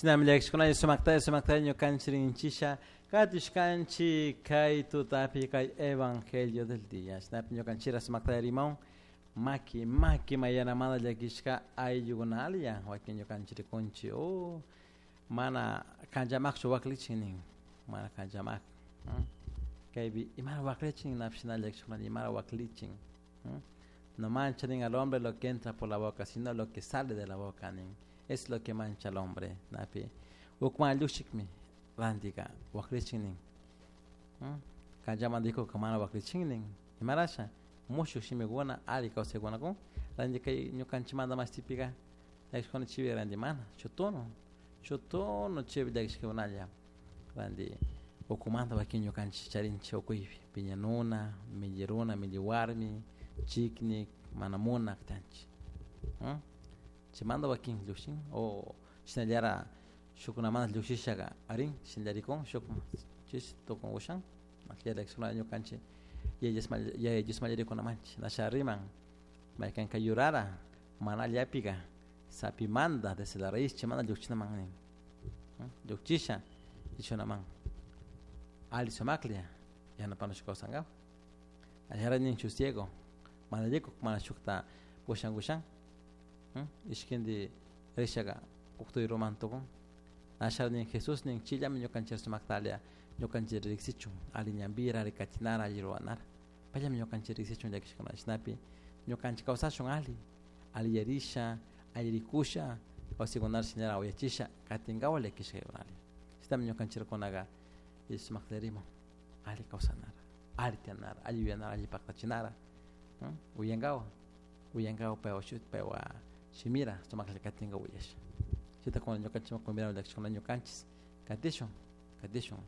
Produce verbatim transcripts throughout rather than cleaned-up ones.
Shinami llakishkunalla sumaktalla sumaktalla ñukanchik rinchisha katishkanchik kay tutapi kay evangelio del día. Shinapi ñukanchikra sumaktalla rimawan maki maki mayanamanta llakishka ayllukunalla wakin ñukanchik rikunchik oh mana kanchamakchu waklichin nin mana kanchamak kaypi imara waklichin napish na llakishkunalla imara waklichin no mancha nin al hombre lo que entra por la boca, sino lo que sale de la boca nin es lo que mancha al hombre napi ukman llushikmi rantika waklichin nin kanchaman dijo mana waklichin nin imarasha mushuk shimikuna alli kawsaykuna kun ranti kay ñukanchikmanta mashtipika llakishkuna chivi ranti mana chutuno chutuno chivi llakishkakunalla ranti ukumanta wakin ñukanchik charinchik ukuypi piñanuna milli runa milli warmi chiknik mana munak tiyanchik chaymanta wakin llukshin o shinallara shukkunamanta llukshishaka arin shinallarikun shukman chish tukun ushan llakishkuna ñukanchik yaya Diosman rikunamanchik nasha riman maykanka yurara mana allapika sapimanta desde la raíz chaymanta llukchinaman nin llukchisha ichunaman alli sumaklla yanapanush kawsankapak ashara nin shuk ciego mana rikuk mana shukta pushankushan ishkindi rishaka uktuy tukun ashara nin Jesús nin chillami ñukanchik sumaktalla ñukanchik riksichun alli ñanpira alli katinara alli ruranara payllami ñukanchik riksichun llakishkuna shinapi ñukanchik kawsashun alli alli yarisha alli rikusha kawsaykunata shinallara uyachisha katinkawa llakishkaykunalla shinami ñukanchikkunaka sumakta riman alli kawsanara alli tiyanara alli yuyanara alli paktachinara uyankawa uyankawa paywa shuti paywa shimira sumaklla katinka uyasha chayta kuna ñukanchikman convidamos llakishkuna ñukanchik katishun katishun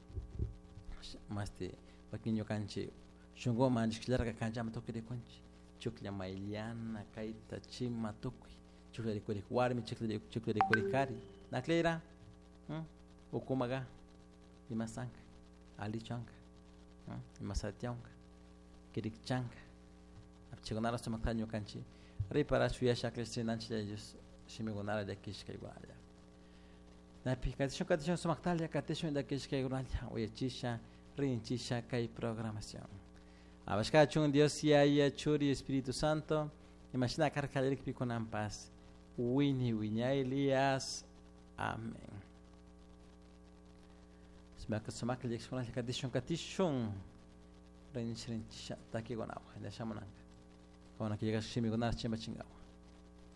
mashti wakin ñukanchik shunkuman rishkallarka kanchaman tukuy rikunchik chuklla mayllana kayta chima tukuy chuklla rikurik warmi chuklla chuklla rikurik kari naklira ukumaka imasanka allichu anka imasatiyanka kirikchanka chaykunata sumakta ñukanchik riparash yuyasha akllashinanchik Dios shimikunata llakishkaykunalla napi katishun katishun sumaktalla katishun llakishkaykunalla uyachisha rinchisha kay programación Abashkachun Dios Yaya Churi Espíritu Santo imashina karka kallarikpi kunanpas wini wiñaylias amén sumak sumaklla llakishkunalla katishun katishun rinchi rinchisha takikunawan shamunanka kuna killkashka shimikunata chimpachinkawan.